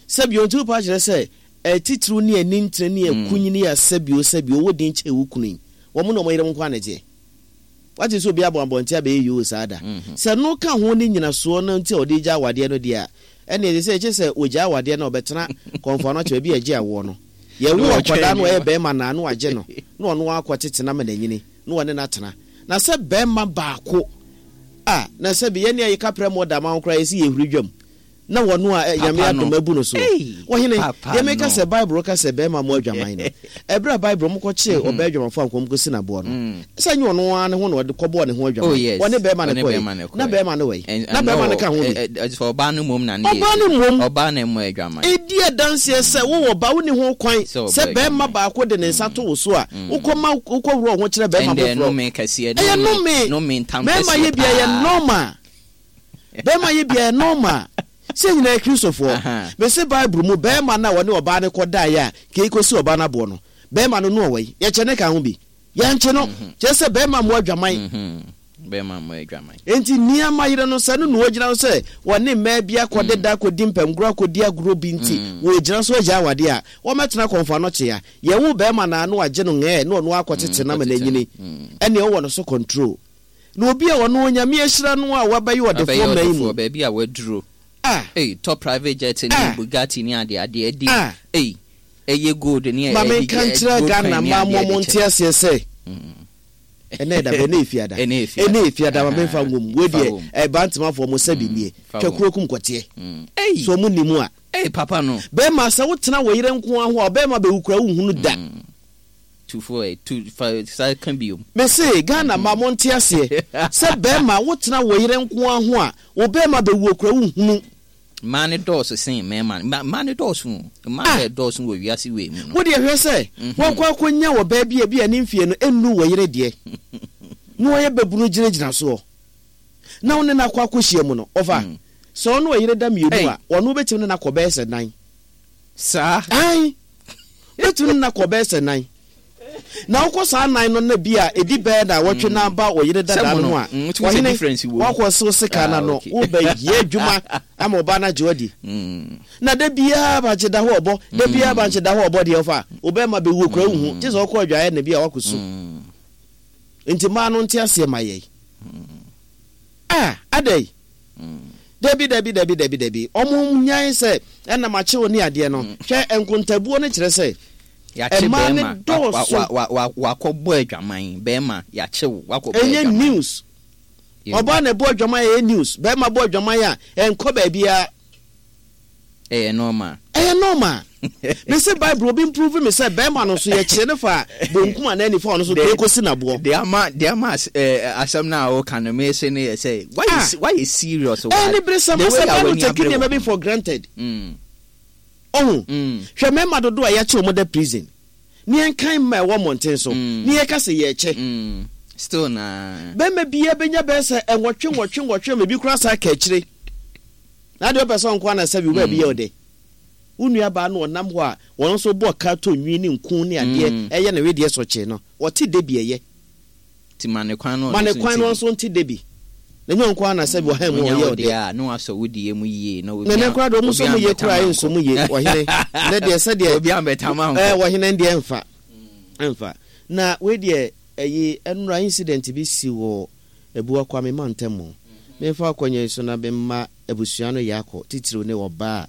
Sɛbio nti wopa kyerɛ sɛ ɛtitiriw ne ani ntene ne akunyini a sɛbio sɛbio ɔwɔ din kyɛn wo kunu yi. Wɔn na wɔn yere nko anagyeɛ. Wate sɛ obi abɔ abɔnten abɛyɛ yoo saa da. Sɛ no ka ho ne nyinasoɔ no nti a ɔde gya awadeɛ no deɛ a, ɛne ɛde sɛ ɛkyɛ sɛ wɔgya awadeɛ no a ɔbɛtena kɔnfa no akyɛ baabi a ɛgye awoɔ no. Yɛwo akwadaa no ɔyɛ bɛrima naa no agye no na ɔno akɔ tete na ma n'anyini na ɔne no atena. Na sɛ bɛrima baako a na sɛ bi yɛne a yɛka prɛ mu ɔda ma wo koraa yɛsi yɛhuri dwam na wɔno a Nyame adom abu no so. Wɔhene, deɛ meka sɛ Bible ka sɛ bɛrima mo adwaman no. Ɛberɛ a Bible mo kɔkyee ɔbaa adwamanfoɔ a nkɔm kɔsi n'aboɔ no. Sɛ nyɛ ɔno ara ne ho na ɔde kɔbɔɔ ne ho adwaman. Ɔne bɛrima no kɔe. Na bɛrima no wɔ Na bɛrima no ka ho bi. Ɔbaa no mmom na ne Ɔbaa no mmom. Ɔbaa na mmɔ adwaman. Ɛdi adanseɛ sɛ wowɔ ba wonni ho kwan sɛ bɛrima baako de ne nsa to wo so a wokɔma wokɔworɔ ho kyerɛ bɛrima foforɔ. Ɛyɛ nnome. Mmarima yɛ bia yɛ normal. Bɛrima yɛ bia yɛ normal. Sɛ nyinaa yɛ Kristofoɔ. Mese Bible mu bɛrima no a wɔne ɔbaa no kɔdaeɛ a kei kɔsi ɔbaa no aboɔ no, bɛrima no no ɔwɔ yi, yɛkyɛ ne ka ho bi. Yɛnkye no. Kyerɛ sɛ bɛrima mmɔ adwaman. Bɛrima mmɔ adwaman. Enti nneɛma yere no sɛ no na wɔgyina so sɛ wɔne mmaa bi akɔdeda akɔdi mpamgorɔ akɔdi agorɔ bi nti wɔgyina so agya awadeɛ a, wɔmɛtena kɔmfa no kyea. Yɛwo bɛrima na ano agye no ngɛɛ na ɔno akɔtete no ama no anyini. Ɛnneɛ wowɔ no so control. Na obi a ɔno Onyame ahyira no a wabɛyɛ ɔdefoɔ mmaa yi mu. Baabi a waduro. Ah. Ei, top private jet ne Ah. Bugatti ne ade ade adi. Ah. Ei, ɛyɛ gold ne Ma ɛdi menka nkyerɛ gold Ghana coin ne mmaa ade mo ade mo kyɛ. nte aseɛ sɛ ɛnɛ ɛda bɛ ɛnɛ efiada. Ɛnɛ efiada. Ɛnɛ efiada ma memfa ngom. Wei Fa deɛ wom. ɛba ntemafoɔ mo sɛbi nie. Fa Twa wom. kuro kum kɔteɛ. Mm. Ei. So ɔmo nim a. Ei, papa no. Bɛrima sɛ wotena wɔ yere nko ara ho a ɔbɛrima bɛwu kura wonhunu da. Tufo ɛ tu fa sa ka biom. Mese Ghana ma mo nte aseɛ sɛ bɛrima wotena wɔ yere nko ara ho a wo bɛrima bɛwu okura wonhunu. Mmaa ne dɔɔso sen mmarima. Mmaa mmaa ne dɔɔso o. Mmaa Ah. na ɛdɔɔso wɔ wiase wei mu no. Wo deɛ hwɛ sɛ wɔkɔ akɔnya wɔ baa bi a bi a ne mfie no ɛnnu wɔ yere deɛ na wɔyɛ bɛbunu gyinagyina soɔ na wo ne no akɔ akɔhyia mu no ɔfa sɛ ɔno ɔyere da mmienu a ɔno wobɛtumi ne no akɔ bɛyɛ sɛ nan. Saa. Ae, wobɛtumi ne no akɔ bɛyɛ sɛ nan. Na wokɔ saa nan no na bi a ɛdi bɛyɛ na wɔtwe na ba ɔyere dadaa no ho a, Mm, wotumi sɛ ɔhene difference wɔ mu. wakɔ sew sika Ah, no ano okay. wobɛyɛ adwuma ama ɔbaa no agye wadi. Mm. Na da biara bankye da hɔ ɔbɔ, da biara bankye da hɔ ɔbɔ deɛ ɔfa, wobɛma bɛwu okura wohu, gye sɛ ɔkɔ adwaeɛ na bi a wakɔ su. Mm. Nti mmaa no nte aseɛ ma yɛn. Ah, adɛn? Dabi, dabi, dabi, dabi, dabi. Ɔmo nyan sɛ ɛnam akyew ne adeɛ no. Hwɛ nkontabuo no kyerɛ sɛ Yɛakye mmaa no bɛrima. dɔɔso. Wa- wa- wa- wa- Wakɔbɔ adwaman. Bɛrima yɛakye wo. Wakɔbɔ Ɛnyɛ adwaman. news. Ɔbaa na ɛbɔ adwaman a ɛyɛ news. Bɛrima bɔ adwaman a ɛnkɔ baabiara. Ɛyɛ normal. Ɛyɛ normal. Mese Bible obi improve me sɛ bɛrima no so yɛkyerɛ ne fa bonkum anaa nifa ɔno so De- kee kɔsi n'aboɔ. De ama de ama as- eh, asɛm no a woka no mese ne yɛ sɛ wayɛ Ah. se- wayɛ serious wɔ Ɛyɛ ade- ne bere sɛm the way sɛ a bɛrima w'ani take abere nneɛma wɔ bi ho. for granted. Mm. Ɔho. Mm. Hwɛ mmarima dodoɔ a yɛakye wɔn da prison. Ne yɛnkan mma ɛwɔ mmɔnten so. Ne yɛka sɛ yɛrekyɛ. Mm. Still na. Bɛrima biara bɛnya bɛyɛ sɛ nwɔtwe nwɔtwe nwɔtwe ma ebi koraa saa ka akyire. Na adeɛ ɔpɛ sɛ ɔnko ana sɛ bi wo baabi yɛ ɔdɛ. Wo nua baa no ɔnam hɔ a wɔn nso bɔ ka tɔ nwi ne nku ne adeɛ ɛyɛ ne wedeɛ sɔkyee no. Ɔte de bi ɛyɛ. Ti ma ne kwan no Ma ne ɔno nso kwan no nte bi. nso nte de bi. Na nyɛ ɔnko ana sɛ bi ɔhan mu Onya ɔyɛ wo ɔdɛ. deɛ a na wasɔ wo deɛ mu yie na obi Na ne a- koraa deɛ ɔmo nso obi mu yie ambɛtam koraa ankɔ. nso mu yie ɔhene. Ne deɛ sɛdeɛ Obi ambɛtam ankɔ. ɛɛ ɔhene deɛ mfa. Mfa. Na wei deɛ ɛyi ɛnura incident bi si wɔ Ebua Kwame mantam mu. Memfa akɔnya yi so na memma abusua no yɛ akɔ titiriw ne ɔbaa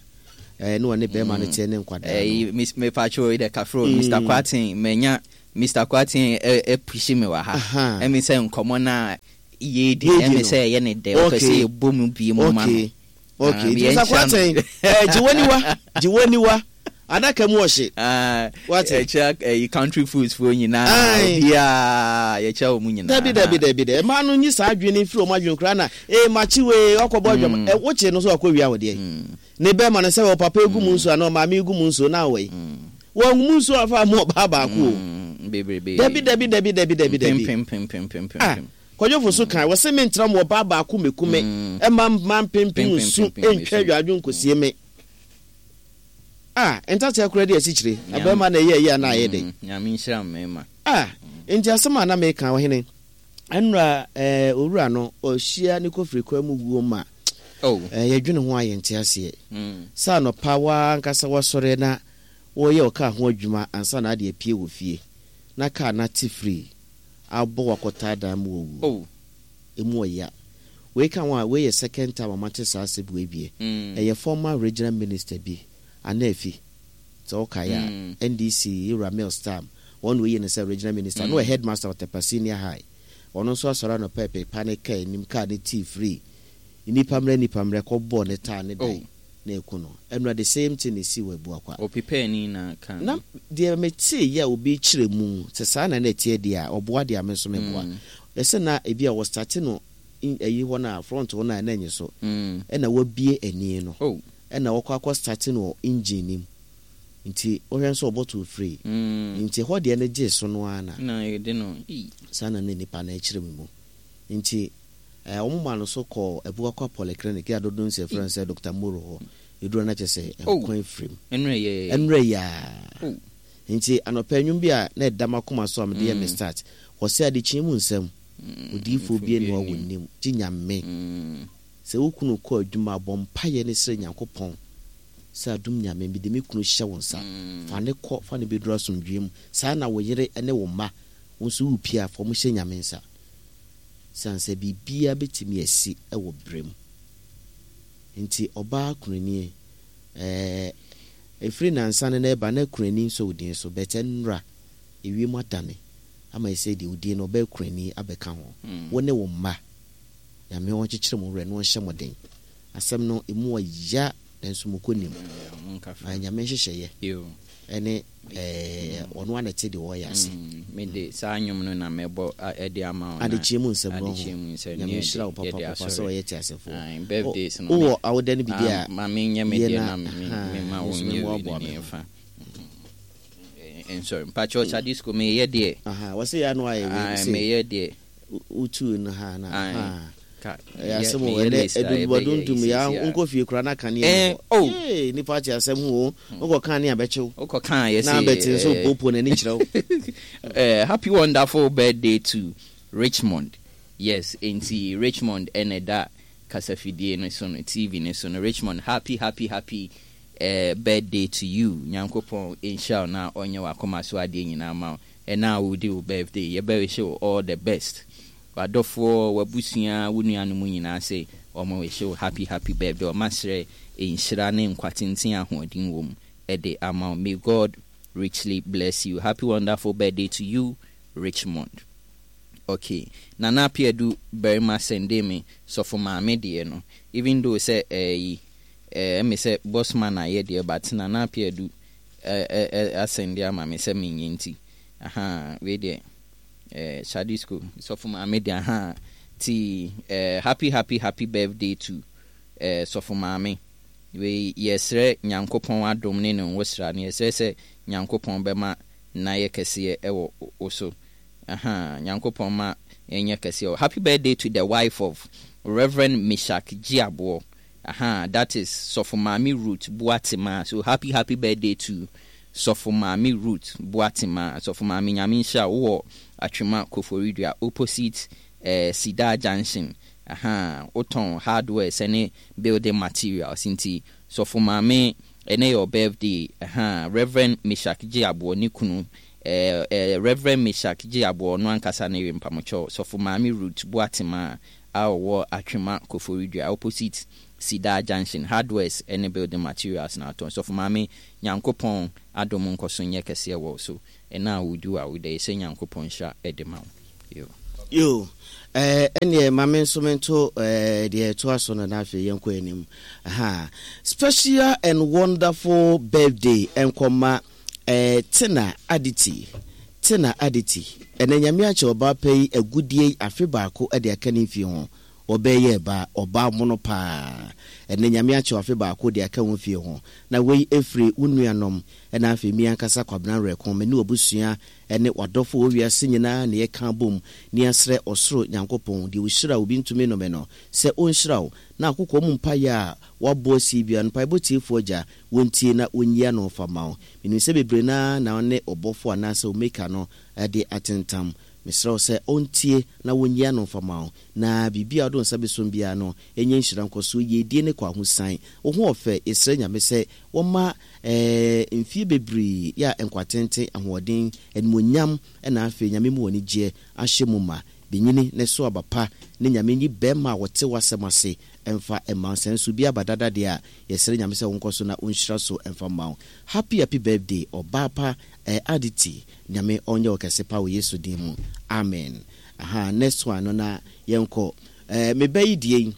Ɛɛ ne wɔne bɛrima no teɛ ne nkwadaa no. Ɛyi mepatwo yi dɛ kafro, Mister Kwaten, manya Mister Kwaten ɛpushi me wɔ ha. Ɛmi sɛ nkɔmɔ na yɛdi ɛmi sɛ ɛyɛ ne dɛ, ɔpɛ sɛ yɛbɔ mu bie mu ma no. Okay, Mister Kwaten, ɛɛ gye w'aniwa, gye w'aniwa, adaka mu ɔhye. Wate? Ɛkyɛ ɛyi country foods fo nyinaa, obiara yɛkyɛ wɔn nyinaa. Dabi, dabi, dabi dɛ, mmaa no nyi saa adwene firi wɔn adwene koraa na ee makyi wei ɔkɔbɔ adwam ɛ wokye no so akɔ wia wɔ deɛ ne bɛrima no sɛ wɔ papa egu mu nsuo anaa ɔmaame egu mu nsuo na awɔ yi wɔn mu nsuo afa mu ɔbaa baako o. Bebrebe. Dabi, dabi, dabi, dabi, dabi, dabi. Pempempempempempem. Kwadwofo so kan wɔsɛ me ntra mu ɔbaa baako meku me ɛma mma mpempem nsu ntwa adwadwo nkosie me. Ah, ntatea koraa di asikyire abɛrima na ɛyɛ ɛyɛ ana ayɛ dɛ. Nyame nhyira mmarima. Ah, nti asɛm a na meka, ɔhene, ɛnura ɛɛ owura no ɔhyia ne kɔfiri kwan mu wuo ma ɛɛ yɛdwene ho a yɛnte aseɛ sɛ anɔpa waa ankasa wasɔre na wɔyɛ ɔkaa ho adwuma ansa na ade apue wɔ fie na kaa no ate firi abɔ wakɔtaa dan mu wɔ wuo emu ɔya. Wei ka ho a, wei yɛ second time a mate saa asɛm wei bie. Ɛyɛ former regional minister bi Anafi, sɛ wokae a, N D C Ewura Mills time wɔn na oyi no sɛ regional minister na ɔyɛ headmaster wɔ Tepa Senior High. Ɔno nso asɔre anɔpa ɛpepa ne kaa anim, kaa ne tii firi nipa mmerɛ nipa mmerɛ kɔbɔɔ ne taa ne dan na ɛku no. Ɛnura the same thing na esi wɔ Abuakwa. Ɔpepɛɛ na ka. Na deɛ metee yɛ a obi kyerɛ mu sɛ saa na na ɛteɛ deɛ a ɔboa deɛ a me nso meboa ɛsɛ na ebi a wɔstarte no ɛyi hɔ no a front hɔ no a ɛna nye so ɛna wabie ani no ɛna wɔkɔ akɔ starte no wɔ engine nim, nti wohwɛ nso ɔbɔto free, nti hɔ deɛ no gye so no ara na saa na ne nipa no akyerɛ mu mu nti ɛɛ wɔn ma no so kɔ Abuakwa Polyclinic yɛ adodo nsɛ fɛn sɛ Doctor Moro hɔ eduro na kyerɛ sɛ nkwan firim. Ɛnura yaa. Nti anɔpɛ nnwom bi a na ɛda m'akoma so a mede yɛ me start wɔsɛ adekyee mu nsɛm odiifoɔ bi enu a wɔ nim gye Nyame. Sɛ wo kunu kɔ adwuma, bɔ mpaeɛ ne srɛ Nyankopɔn sɛ, "Adom Nyame, mede me kunu hyɛ wo nsa, fa ne kɔ, fa ne bɛduru asomdwoe mu." Saa na wo yere ne wo mma wo nso wopie a, fa ɔmo hyɛ Nyame nsa, siane sɛ biribiara bɛtumi asi wɔ berɛ mu. Nti ɔbaa kunani, ɛɛ ɛfiri nansa no na ɛba na kunani nso wo din so bɛtɛ nnora ewiem adane ama ɛsɛ deɛ wo din no ɔbɛyɛ kunani abɛka ho. Wo ne wo mma, Nyame wɔnkyekyere mo werɛ na wɔnhyɛ mo den. Asɛm no emu ɔya nanso mo kɔ nim Nyame nhyehyɛeɛ ɛne ɔno ana te deɛ ɔyɛ ase. Mede saa nnwom no na mɛbɔ ɛde ama wo. Adekyee mu nsɛm no ho. Nyame nhyira wo papapapa sɛ ɔyɛ te asefoɔ. Birthdays no wowɔ awoda no bibi a ma menyɛ me deɛ na mema wo nyɛ wei ne yɛmfa nsɔre mpakyɛ Ɔsadisco meyɛ deɛ. Wɔsɛ yɛ ano ayɛ wei. Meyɛ deɛ. Wotuu no ha na ɛyɛ asɛm o. Ɛnɛ ɛdundubadundum yɛ nkɔ fie kora na kanea oh ee nipa te asɛm ho o, wokɔ kan ne abɛkyew. Wokɔ kan yɛ. Na abɛte nso popo n'ani kyerɛ wo. Happy wonderful birthday to Richmond. Yes, nti Richmond ɛna ɛda kasafidie no so no, T V no so no. Richmond, happy happy happy uh, birthday to you. Nyankopɔn nhyira wo na ɔnyɛ w'akoma so adeɛ nyinaa ma wo. Ɛna a wodi wo birthday, yɛbɛwish wo all the best. W'adɔfoɔ, w'abusua, wo nuanom nyinaa sɛ ɔmo wish wo happy happy birthday. Ɔma srɛ nhyira ne nkwa tenten, ahoɔden wɔ mu ɛde ama wo. May God richly bless you. Happy wonderful birthday to you, Richmond. Okay, Nana Apiadu barima sende me sɔfo maame deɛ no, even though sɛ ɛyi ɛɛ ɛmi sɛ bossman ayɛ deɛ, but Nana Apiadu ɛɛ ɛ asende ama me sɛ menyɛ, nti aha wei deɛ ɛɛ Shadisco sɔfo maame deɛ aha ti ɛɛ happy happy happy birthday to ɛɛ sɔfo maame. Wei yɛsrɛ Nyankopɔn adom ne ne nwosra no, yɛsrɛ sɛ Nyankopɔn bɛma n'ayɛ kɛseɛ ɛwɔ wo so. Aha, Nyankopɔn ma ɛnyɛ kɛseɛ. Happy birthday to the wife of Reverend Mishak Giaboɔ. Aha, that is Sɔfo Maame Ruth Boatema. So happy happy birthday to Sɔfo Maame Ruth Boatema. Sɔfo Maame, Nyame nhyira wo. Wowɔ Atwema Koforidua, opposite eh, Sida Junction. Aha, wotɔn hardware sɛne building materials, nti Sɔfo Maame, ɛnɛ yɛ birthday. Aha, Reverend Mishak Giaboɔ ne kunu, eh, eh, Reverend Mishak Giaboɔ no ankasa ne yere mpamokyɛw, Sɔfo Maame Ruth Boatema. A ɔwɔ Atwema Koforidua, opposite Sida Junction, hardwares ne building materials na atɔn. Sɔfo Maame, Nyankopɔn adom nkɔ so nyɛ kɛseɛ wɔ wo so. Ɛna a wodi a woda yi sɛ Nyankopɔn nhyira de ma wo. Yo. Yo, eh, ɛneɛ ma me nso mento eh, deɛ ɛtoa so no na afei yɛnkɔ anim. Aha. Special and wonderful birthday ɛnkɔma eh, Tina Aditi. Tina Aditi. Ɛnɛ Nyame akyɛ ɔbaa pɛ yi agudie yi afe baako de aka ne mfie ho. Ɔbɛyɛ ba ɔbaa mono paa. Ɛnɛ Nyame akyɛ afe baako de aka wo mfie ho. Na wei ɛfiri wo nuanom ɛna afei mi ankasa Kwabena Werɛko, me ne w'abusua ɛne w'adɔfo wɔ wiase nyinaa ne yɛka bom ne asrɛ ɔsoro Nyankopɔn deɛ ɔhyira obi ntumi nnome no sɛ ɔnhyira wo, na akokɔ mu mpaeɛ a wabɔ asi bia no, mpaebɔ tiefoɔ Agya wɔntie na wɔnyia no fa ma wo. Menim sɛ bebree naa na ɔne ɔbɔfo anaasɛ omeka no de atentam. Mesrɛ wo sɛ ɔntie na wɔnyia no fa ma wo, na biribi a wode wo nsa bɛsom biara no ɛnyɛ nhyira nkɔsoɔ, yiedie ne kɔ ahosan. Wo ho ɔfɛ, yɛsrɛ Nyame sɛ wɔma eh, mfie bebree yɛ a nkwatenten, ahoɔden, animuonyam, ɛna afei Nyame mu anigyeɛ ahyɛ mu ma. Bɛnyini ne so aba pa ne Nyame nyi bɛrima a wɔte w'asɛm ase ɛmfa ɛma wo. Sɛ nso bi aba dada deɛ a, yɛsrɛ Nyame sɛ wonkɔ so na ɔnhyira so ɛmfa ma wo. Happy happy birthday ɔbaa pa eh, Aditi. Nyame ɔnyɛ wo kɛse pa wɔ Yesu din mu, amen. Aha, next one no na yɛnkɔ. eh, meba yi die yi,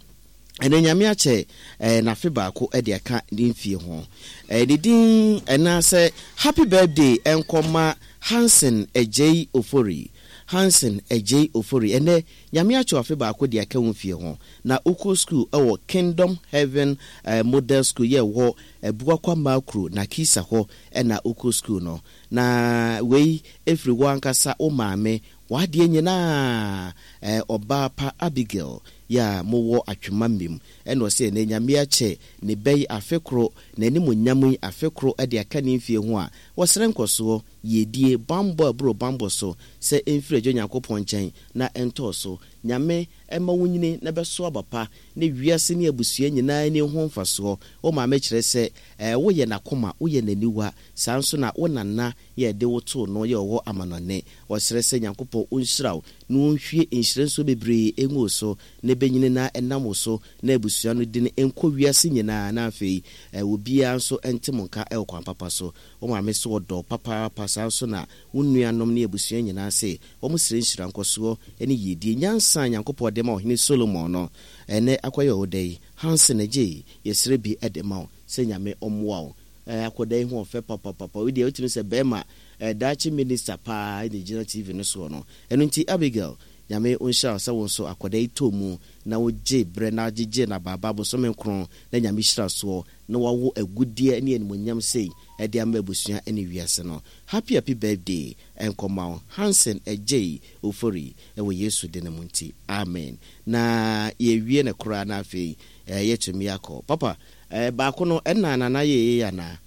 ɛnɛ Nyame akyɛ eh, n'afe baako de aka ne mfie ho. eh, ne din ɛna sɛ happy birthday ɛnkɔma Hansen Agyei Ofori. Hansen Agyei Ofori, ɛnɛ Nyame akyɛ afe baako de aka wo mfie ho, na wokɔ school ɛwɔ Kingdom Heaven eh, Model School yɛ wɔ Abuakwa Makro na Kisa hɔ ɛna wokɔ school no. Na wei ɛfiri wɔ ankasa wo maame w'adeɛ nyinaa eh, ɔbaa pa Abigail yɛ a mowɔ Atwema mmem. Ɛna ɔsɛ ɛnɛ Nyame akyɛ ne bɛyi afe koro, n'animuonyam yi afe koro de aka ne mfie ho a, wɔsrɛ nkɔsoɔ, yiedie, bambɔ ɛboro bambɔ so sɛ ɛmfiri Agya Nyankopɔn nkyɛn na ɛntɔɔ so. Nyame ɛma wo nyini na bɛso aba pa ne wiase ne abusua nyinaa ani ho mfasoɔ. Wo maame kyerɛ sɛ eh, woyɛ n'akoma, woyɛ n'aniwa, saa nso na wo nana yɛ de wo too no yɛ ɔwɔ amanɔne. Wɔsrɛ sɛ Nyankopɔn ɔnhyira wo na ɔnhwie nhyira nsuo bebree ɛngu wo so na ɛbɛnyini na ɛnam wo so na abusua no din nkɔ wiase nyinaa, na afei obiara nso nte mo nka ɛwɔ kwan papa so. Wo maame so ɔdɔ papaapa, saa nso na wo nuanom ne abusua nyinaa se wɔn srɛ nhyira nkɔsoɔ ne yiedie. Nyansa a Nyankopɔn de ma ɔhene Solomon no ɛnɛ akɔyɛ wo dɛ yi, Hansen Agyei, yɛsrɛ bi de ma wo sɛ Nyame ɔmmoa wo. Akɔda yi ho ɔfɛ papapapa. Wei deɛ wotumi sɛ bɛrima daakye minister paa ɛna gyina T V no soɔ no. Ɛno nti Abigail, Nyame ɔnhyira wo sɛ wo nso akɔda yi tɔ mu na wogye berɛ na agyegye na baaba bosome nkron na Nyame hyira soɔ na wawo agudeɛ ne animuonyam sei ɛde ama abusua ne wiase no. Happy happy birthday ɛnkɔma wo Hansen Agyei Ofori ɛwɔ Yesu din mu nti, amen. Na yɛwie no koraa na afei yɛtumi akɔ papa baako no ɛna nana yɛyɛ anaa.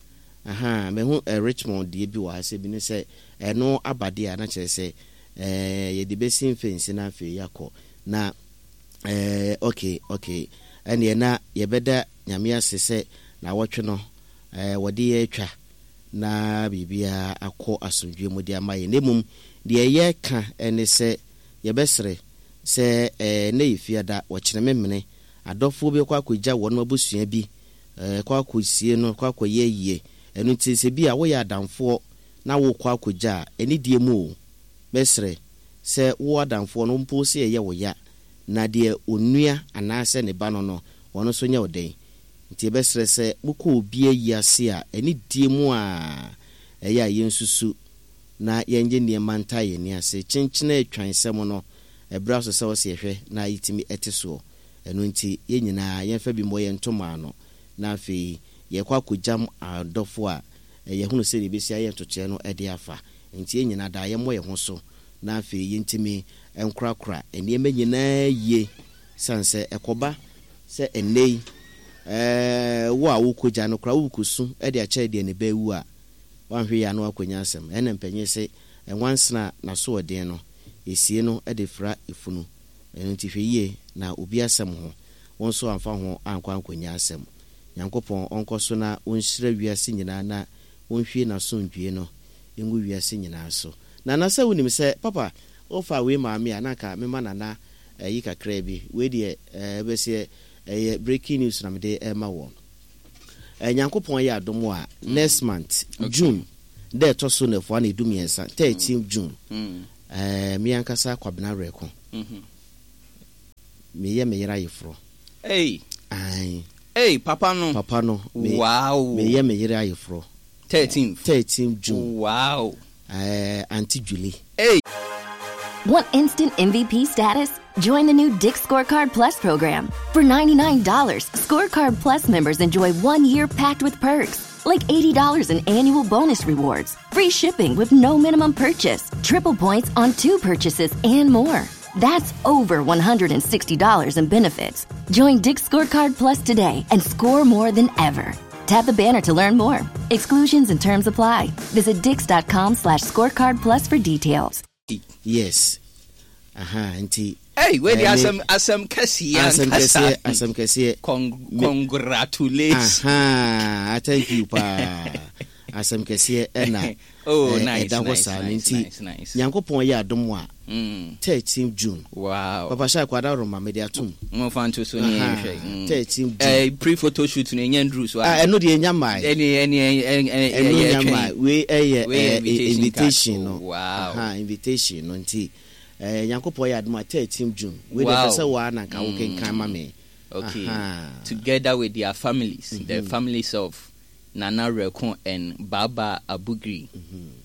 Aha, mehu Richmond deɛ bi wɔ ha sɛ bi ne sɛ ɛno aba deɛ a na kyerɛ sɛ yɛde bɛsi mfɛnsi na afei yɛakɔ na eh, okay okay ɛneɛ na yɛbɛda Nyame ase sɛ na wɔtwe no eh, wɔde yɛ atwa na biribiara akɔ asomdwe mu de ama yɛn. Na mmom deɛ yɛka ne sɛ yɛbɛsrɛ sɛ eh, na yɛ fiada wɔkyerɛ me mene adɔfoɔ bi kɔ akɔgya wɔn abusua bi eh, kɔ akɔsie no, kɔ akɔyɛ yie. Ɛno nti sɛ bi a woyɛ adamfoɔ na wokɔ akɔgya a, ɛne die mu o, bɛsrɛ sɛ wo adamfoɔ no mpo sɛ ɛyɛ wo ya na deɛ onua anaasɛ ne ba no no ɔno nso nyɛ wo dɛn. Nti yɛbɛsrɛ sɛ mokɔ obi ayi ase a, ɛne die mu a ɛyɛ a yɛnsusu na yɛngye nneɛma nta yɛn ani ase. Kyenkyene atwan sɛm no ɛberɛ so sɛ wɔsɛ yɛhwɛ na yɛtumi ɛte soɔ. Ɛno nti yɛn nyinaa yɛmfa bi mmɔ yɛn ntoma ano na afei yɛkɔ akɔgyam adɔfo a yɛhunu sɛ yɛbɛsi ayɛ ntotoeɛ no de afa. Nti yɛn nyinaa daa yɛmmɔ yɛn ho so na afei yɛntumi nkorakora nneɛma nyinaa yie, sane sɛ ɛkɔba sɛ ɛnnɛ yi wo a wokɔgya no koraa wokɔsu de akyerɛ deɛ ne ba awu a, wanhwɛ yie a na wakɔnya asɛm. Ɛna mpanyin se ɛnwansena n'asoɔden no esie no de fra efunu. Ɛno nti hwɛ yie na obi asɛm ho wɔn nso amfa ho ankɔ ankɔnya asɛm. Nyankopɔn ɔnkɔ so na ɔnhyira wiase nyinaa na ɔnhwie n'asomdwie no ngu wiase nyinaa so. Nana, sɛ wonim sɛ papa wofa wei maame a na anka mema nana Ɛyi kakra bi wei deɛ, ɛɛ bɛsɛ ɛyɛ breaking news na mede ɛma wɔ. Nyankopɔn yɛ adom a, next month, Okay. June dɛ ɛtɔ so nɛfoa na edu mmiɛnsa, thirteen June, Mm. ɛɛ me ankasa Kwabena Rɛko, Mhm. meyɛ me yere ayeforɔ. Hey. Ae. Hey, papa no. Papa no, me Wow. meyɛ me yere ayeforɔ. thirteenth. thirteen June. Wow. ɛɛ Auntie Julie. Hey. Want instant M V P status? Join the new Dick's Scorecard Plus program. For ninety-nine dollars, Scorecard Plus members enjoy one year packed with perks, like eighty dollars in annual bonus rewards, free shipping with no minimum purchase, triple points on two purchases, and more. That's over one hundred sixty dollars in benefits. Join Dick's Scorecard Plus today and score more than ever. Tap the banner to learn more. Exclusions and terms apply. Visit dicks dot com slash scorecard plus for details. Yes, aha, nti Hey, wei de eh, me- asɛm asɛm kɛseɛ asɛm ankasa. kɛseɛ, asɛm kɛseɛ. Con- Me- congratulations Aha, thank you paa. Asɛm kɛseɛ ɛna Oh, eh, nice, ɛda hɔ nice, saa no. nice, Nti nice, nice. Nyankopɔn yɛ adom a, Mm. thirteen June. Wow. Papa hyɛ akwada roma mede atom. Momfa nto so ne Aha, yɛnhwɛ. Mm. thirteen June. Eh, pre photo shoot no ɛnyɛ nduru so a? Ah, ɛno deɛ ɛnya mmae. ɛne ɛne ɛne Ɛno ɛyɛ nya twɛn. mmae. Wei ɛyɛ Wei yɛ eh, invitation invitation card. no. Oh, wow. Aha, invitation no. Nti eh, Nyankopɔn yɛ adom a, thirteen June wei deɛ, Wow. pɛ sɛ waa na nka wokenkan ma me. Okay. Aha. Together with their families, the families of Nana Rekon and Baba Abugri.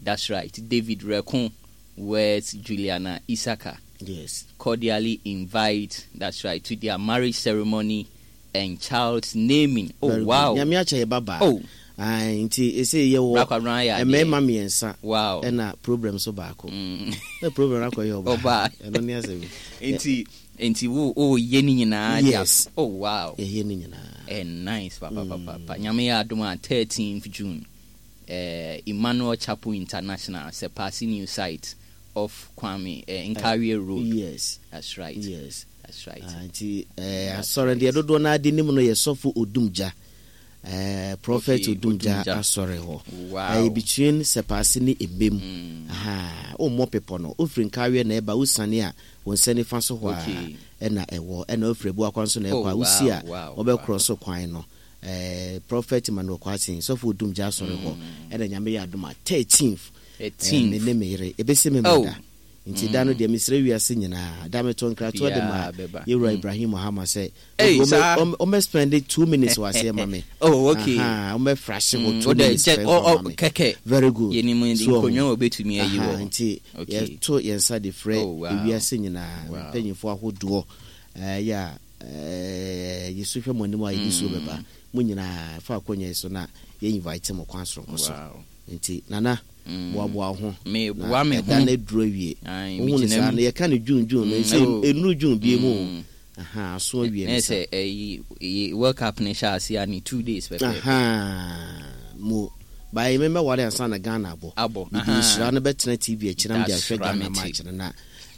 That's right. David Rekon weds Juliana Isaka. Yes. Cordially invite, that's right, to their marriage ceremony and child's naming. Oh, Very good. wow. Nyame akyɛ yɛ babaa. Oh. Ae, nti ɛsɛ yɛwɔ Bra Kwabena ayɛ adeɛ. mmarima mmiɛnsa Wow. ɛna problem so baako. Mm. Na problem akɔyɛ ɔbaa. Ɔbaa. Ɛno ne asɛm. Nti, nti wo wo yɛ ne nyinaa de a- Yes. Oh, wow. Yɛyɛ ne nyinaa. Eh, nice, papa, papa, papa. Nyame yɛ adom a, thirteenth June, eh, Emmanuel Chapel International, Sepasi new site off Kwame eh, Nkawie Road. Yes. That's right. Yes. That's right. Ah, nti eh, asɔre deɛ dodoɔ no ade nim no yɛ Sɔfo Odumgya, eh, Prophet Okay, Odumgya Odumgya. asɔre hɔ. Wow. Ɛyɛ between Sɛpaase ne Ebem. Mm. Aha, wommɔ pepɔ no, wofiri Nkawie na ɛba, wosane a, wo nsa nifa so hɔ Okay. a ɛna ɛwɔ, ɛna wofiri Abuakwa nso na ɛkɔ a, Oh, wosi a, wow, wow, wɔbɛkorɔ so kwan no, eh, Prophet Emmanuel Kwaten, Sɔfo Odumgya asɔre hɔ ɛna Nyame yɛ adom a, thirteenth, thirteenth. me ne me yere ɛbɛsi me Oh. mada. Nti da no deɛ, mesrɛ wiase nyinaa da meto nkratoɔ de ma Biaa bɛba. yɛwura Mm. Ibrahim Mahama sɛ Hey, ɔmɛ- saa. ɔmɛ ɔmɛ spend two minutes wɔ aseɛ ma me. Oh, okay. Aha, ɔmɛ frahye wɔ Mm, two wode minutes kyɛ- pɛ ɔ- mfa ɔ- ma me. Kɛkɛ. Very good. Yɛnim So, ɔho. nkonnwa a wɔbɛtumi ayi Aha, wɔ. nti Okay. yɛto yɛn nsa de frɛ Oh, wow. ewiase nyinaa Wow. mpanyinfoɔ ahodoɔ, ɛɛ, yɛ a ɛɛ, yɛsu hwɛ mo anim a yɛde suo bɛba mo nyinaa fa akonnwa yi so na yɛ invite mo kwan soronko so. Wow. Nti Nana, Mm. boaboa wo ho. Meboa me Na ho. ɛda no aduru awie. Ae, wohu ne megyina saa mu. no, yɛka no June, June no, Mm, sɛ oh. ɛnuru June bie mu o. Mm. Aha, aso awie Na ne sa. sɛ ɛyi ɛyi World Cup ne hyɛ ase a ne two days pɛpɛ. Aha, mo baayɛ mɛmɛware ansa na Ghana abɔ. Abɔ, mede aha. nhyira no bɛtena T V akyi na mede That's ahwɛ Ghana right, match no na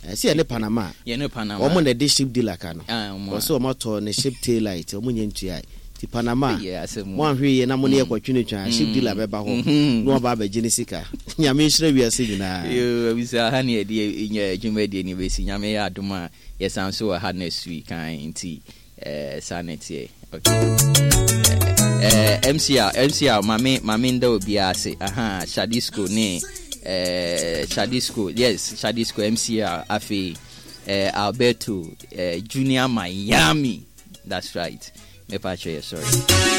eh, sɛ yɛne Panama a, Yɛne Panama. ɔmo na ɛde ship dealer ka no. Ah, ɔmo a. Ɔsɛ ɔmo atɔ ne ship tail light, ɔmo nyɛ ntua nti Panama Ɛyɛ asɛm o. mo ahwɛ yie na mo ne yɛkɔtwe ne twa, ship dealer bɛba hɔ Mhm. na ɔba abɛgye ne sika. Nyame nhyira wiase nyinaa. Yo, abisa ha ne yɛde nya adwumadie no bɛsi. Nyame yɛ adom a, yɛsan so wɔ ha next week an. Nti eh, saa ne teɛ. Okay. Eh, M C R, M C R, mame mame nda obiara ase. Aha, Shadisco ne eh, Shadisco, yes, Shadisco, M C R, afei eh, Alberto eh, Junior Miami. That's right. Mepa kyerɛ yɛ, sorry.